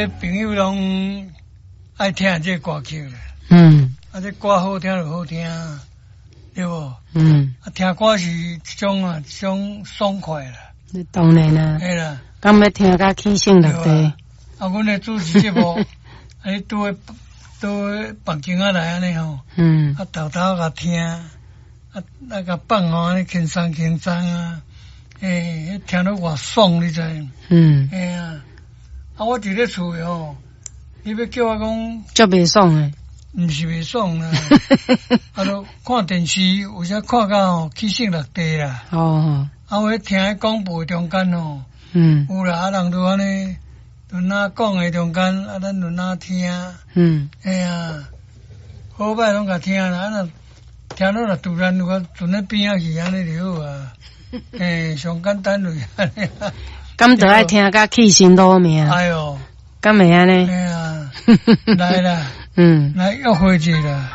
朋友攏愛聽這歌曲啦。啊，這歌好聽就好聽，對無？嗯。啊，聽歌是一種啊，一種爽快啦。當然啦。嘿啦。敢欲聽甲起性落地？啊，阮的主持節目，啊，你拄咧拄咧房間仔內按呢吼，啊，偷偷共聽，啊啊，共放吼，按呢輕鬆輕鬆啊，欸，聽得偌爽，你知？嘿啊，啊，我佇咧厝內吼，你欲叫我講，足袂爽的。毋是袂爽啦，啊，著看電視，有時看甲吼起性落地啦。啊，我聽彼廣播中間吼，有啦，啊，人都按呢，輪哪講的中間，啊，咱輪哪聽。嘿啊，好歹攏共聽啦，啊，若聽了若突然有個陣咧邊仔去，按呢就好啊。嘿，上簡單就是按呢。敢著愛聽甲去身攞命？哎喲，敢會按呢？嘿啊，來啦，來約會一下啦。